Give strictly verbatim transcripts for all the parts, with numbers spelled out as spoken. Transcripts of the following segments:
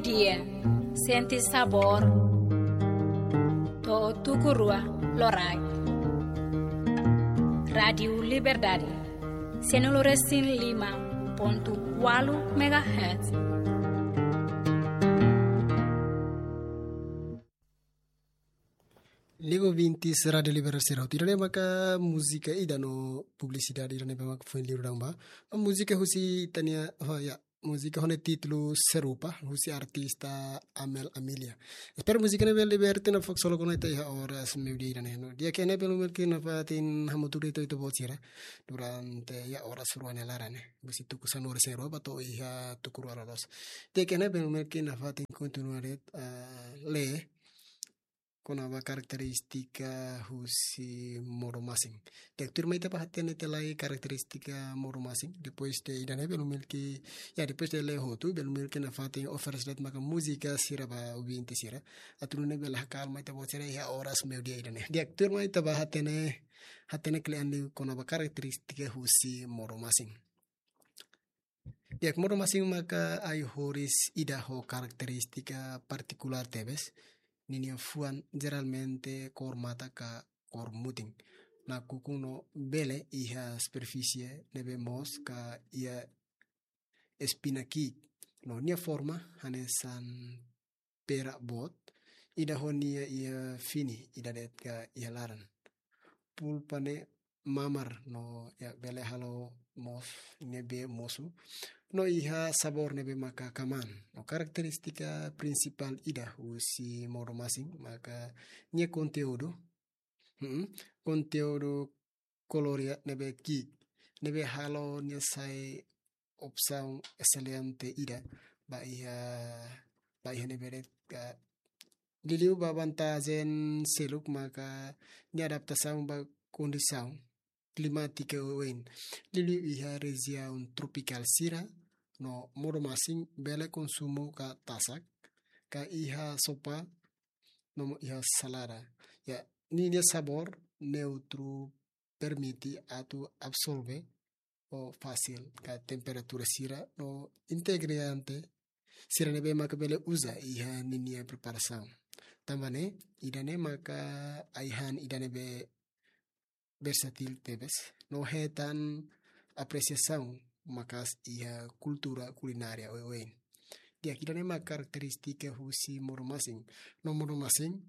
Dia, sente sabór. To'o tuku rua loraik. Rádiu Liberdade, cento e cinco e cinco ponto oito megahertz. Liga ouvintes Rádiu Liberdade sira hotu. Ida-ne'e maka múzika ida no publisidade ida-ne'ebé maka foin liu daudaun ba. Múzika husi ita-nia, oh ya, múzika ho nia títulu Serupa, husi artista Amel Amelia. Espera múzika ne'e bele liberte no fok solo kona ita iha oras meiudia ida-ne'e no. Di'ak, ne'e bele mungkin nafatin hamutuk de'it ita-boot sira durante ya oras rua nia laran ne'e. Husi tuku sanulu-resin-rua ba to'o iha tuku ruanulu-resin-rua. Di'ak, ne'e bele mungkin nafatin kontinua de'it, ah, lee kona-ba karakterístika husi modo-masin. Di'ak, tuirmai ita bá hatene tiha lai karakterístika modo-masin. Depois de ida-ne'e bele mungkin, ya, depois de lee hotu, bele mungkin nafatin oferese de'it maka múzika sira ba ouvinte sira. Atu nune'e bele hakalma ita-boot sira iha oras meiudia ida-ne'e. Di'ak, tuirmai ita bá hatene, hatene kle'an liu kona-ba karakterístika husi modo-masin. Di'ak, modo-masin maka ai-horis ida ho karakterístika partikulár tebes. Ninia fuan jeralmente kór matan ka kór mutin. Nakukun no bele iha superfísie ne'ebé moos ka iha espina ki'ik. No nia forma hanesan pera boot, ida ho nia iha fini, ida de'it ka iha laran. Pulpa ne'e mamar no, ya, bele halo moos ne'ebé mosu. No iha sabór ne'ebé maka kamaan. No karakterístika prinsipál ida husi modo-masin maka nia konteúdu, hmm, konteúdu kaloria ne'ebé ki'ik, ne'ebé halo nia sai opsaun eselente ida ba iha, ba iha ne'ebé de'it ka. Liuliu ba vantajen seluk maka nia adaptasaun ba kondisaun klimátika oioin. Liuliu iha rejiaun tropikál sira no modo-masin bele konsumu ka tasak, ka iha sopa, no iha salada. Ya, ninia sabór neutru permite atu absorve ho fasil ka temperatura sira no integriante sira ne'ebé maka bele uza iha ninia preparasaun. Tanba ne'e, ida-ne'e maka ai-han ida ne'ebé versátil tebes no hetan apresiasaun maka'as iha kultura kulinária oioin. Di'ak, ida-ne'e maka karakterístika husi modo-masin. No modo-masin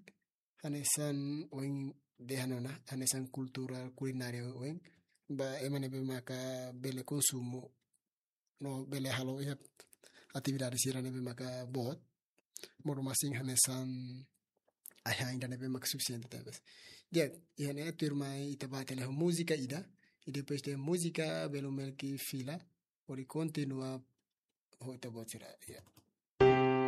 hanesan ohin dehan ona, hanesan kultura kulinária oioin ba ema ne'ebé maka bele konsumu no bele halo iha atividade sira ne'ebé maka boot. Modo-masin hanesan ai-han ida ne'ebé maka sufisiente tebes. Di'ak, iha ne'e tuirmai ita bá hatene ho múzika ida, i depois de múzika bele mungkin fila hodi kontinua ho ita-boot sira. Ya.